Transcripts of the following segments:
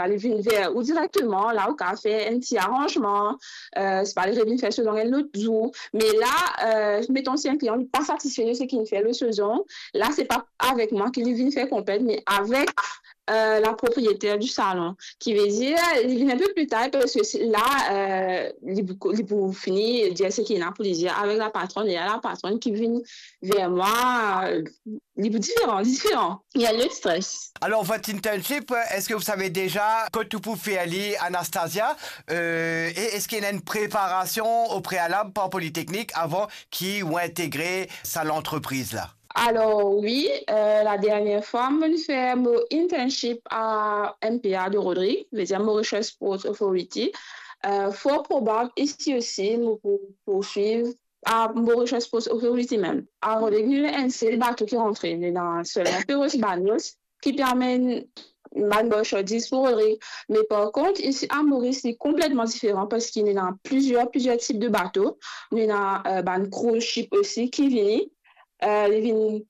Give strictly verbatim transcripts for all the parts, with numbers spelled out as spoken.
Li vinn ver ou direkteman, la ou kapav fer enn ti aranzman, euh, sipa li revinn fer so zong enn lot zour. Me la, euh, meton si enn klian li pa satisfe de seki li fer lor so zong, la se pa avek mwa ki li vinn fer konplint, me avek euh, la propriétaire du salon, ki ve dir li vinn enn pe pli tar, parski se la, euh, li pou, li pou fini dir seki li ena pou li dir avek la patronn, e la patronn ki vinn ver mwa, euh, li pou diferan, diferan. Il y a le stress. Alors, votre internship, est-ce que vous savez déjà kot ou pou fer li, Anastasia? Euh, et est-ce qu'il y a une préparation au préalable par Polytechnique avant ki ou integre sa lantrepriz la? Alor wi, euh, la dernie fwa mo fer mo internship a M P A de Rodrig, vedir Mauritius Ports Authority. Euh, for probab isi osi mo pou pourswiv a Mauritius Ports Authority mem. A Rodrig nou ena enn sel bato ki rantre, nou ena selman Peros Banos ki pe amenn bann marsandiz pou Rodrig. Me par kont isi a Moris li konpletman diferan, parski nou ena plizier, plizier tip de bato. Nou ena, euh, bann cruise ship osi ki vini. Euh, li vinn,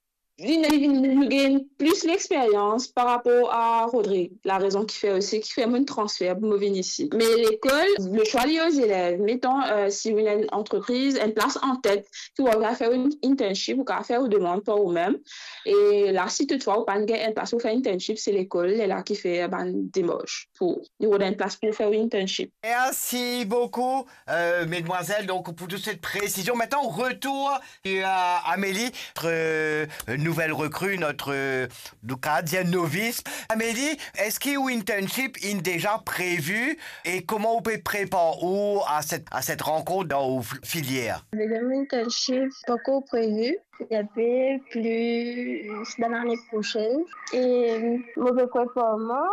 vinn, li vinn, nou gagn plis lexperyans par rapor a Rodrig. Larezon ki fer osi, ki fer mo transfer pou mo vinn isi. Me lekol, le swa li o zelev. Meton, euh, si ou ena enn antrepriz, enn plas an tet, ki ou anvi fer enn internship, ou kapav fer ou demann par ou mem. E la, si toutfwa ou pa'nn gagn enn plas pou fer internship, se lekol, lerla ki fer bann demars pou ou rod enn plas pou fer internship. Merci beaucoup, euh, mesdemoiselles, donc pour toute cette précision. Maintenant, retour à Amélie, notre, euh, nouvelle recrue, notre, euh, nou kapav dir novice. Amélie, eski ou internship inn deza previ e kouma ou pe prepar ou a cette, à cette rencontre dans ou filière? Mon internship pankor previ, li pe plis dan lane prosenn. E mo pe prepar mwa,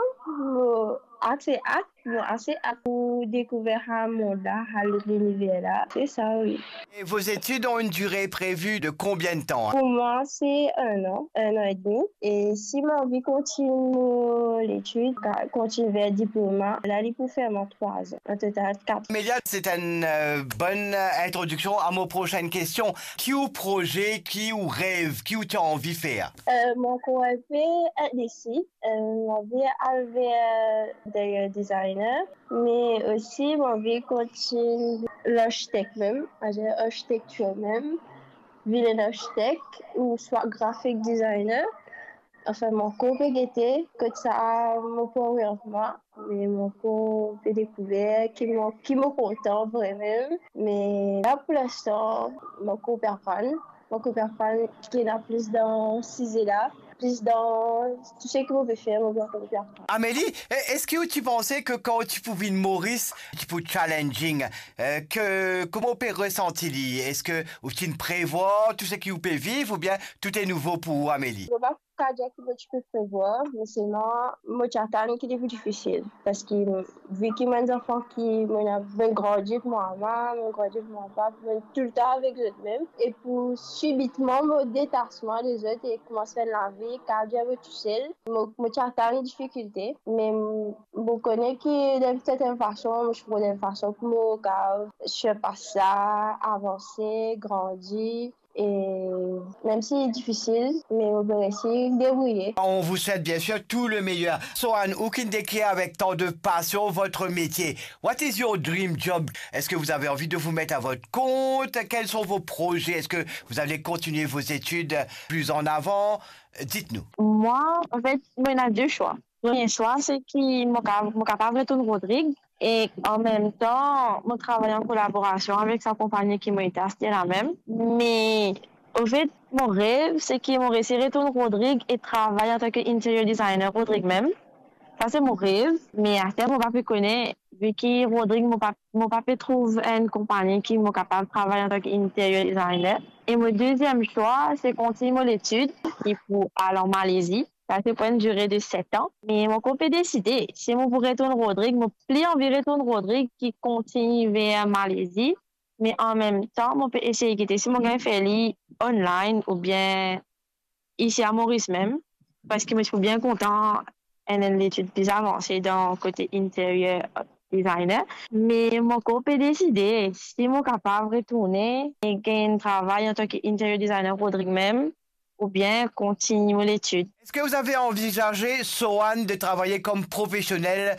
mo ase at, mo ase at pou dekouver sa mond la, sa liniver la. Se sa, wi. Et vos études ont une durée prévue de combien de temps, hein? Pou mwa, se enn an, enn an edmi. E si mo anvi kontign mo letid, ka-, kontign ver diploma, la li pou fer mwa trwa an, an total kat. Amélia, c'est une, euh, bonne introduction à mon prochaine question. Ki ou proze, ki ou rev, ki ou ti anvi fer? Euh, mo ankor enn pe indesi. Euh, mo anvi al ver interior designer, me osi mo anvi kontign larkitek mem, aster arkitektir mem, vinn enn arkitek ouswa graphic designer. Anfin, mo ankor pe gete kot sa mo pou oriant mwa, me mo ankor pe dekouver ki mo, ki mo kontan vremem. Me la, pou linstan, mo ankor pe aprann. Mo ankor pe aprann ki ena plis dan size la, plis dan tou seki mo pe fer, mo ankor pe aprann. Amélie, e-, eski ou ti panse ke kan ou ti pou vinn Moris, ti pou challenging, euh, ke, kouma ou pe resanti li? Eski ou ti prevwar tou seki ou pe viv oubien tout est nouveau pour ou, Amélie? Mo pa kapav dir ki mo ti pe prevwar, me selman mo ti atann ki li pou difisil, parski vi ki mo enn zanfan ki mo ena, mo grandi ek mo mama, mo grandi ek mo papa, mo toultan avek zot mem, e pou sibitman mo detas mwa de zot e koumans fer lavi, kapav dir mo tousel, mo, mo ti atann difikilte, me mo kone ki dan enn sertenn fason, mo ti trouv enn fason pou mo kapav sirpas sa, avanse, grandi, e mem si li difisil, me mo pe resi debrouye. On vous souhaite bien sûr tout le meilleur. Sohan, ou ki'nn dekrir avec tant de passion votre métier. What is your dream job? Est-ce que vous avez envie de vous mettre à votre compte? Quels sont vos projets? Est-ce que vous allez continuer vos études plus en avant? Dites-nous. Mwa, anfet, mo ena de swa. Premie swa, se ki mo ka-, mo kapav retourn Rodrig, e an mem tan, mo travay an kolaborasion avek sa konpagni ki mo ete aster la mem. Me, anfet, mo rev, se ki mo resi retourn Rodrig e travay antan ki interior designer Rodrig mem. Sa se mo rev, me aster mo pa pe kone, vi ki Rodrig, mo pa, mo pa pe trouv enn konpagni ki mo kapav travay antan ki interior designer. E mo deziem swa, se kontign mo letid, ki pou al an Malezi. Sa se pou enn dire de set an. Me mo ankor pe deside si mo pou retourn Rodrig, mo pli anvi retourn Rodrig ki kontign ver Malezi. Me an mem tan, mo pe esey gete si mo gagn fer li online oubien isi a Moris mem, parski mo ti pou bien kontan enn, enn letid pli avanse dan kote interior designer. Me mo ankor pe deside si mo kapav retourne e gagn travay antan ki interior designer Rodrig mem, oubien kontign mo letid. Est-ce que vous avez envisagé, Sohan, de travailler comme professionnel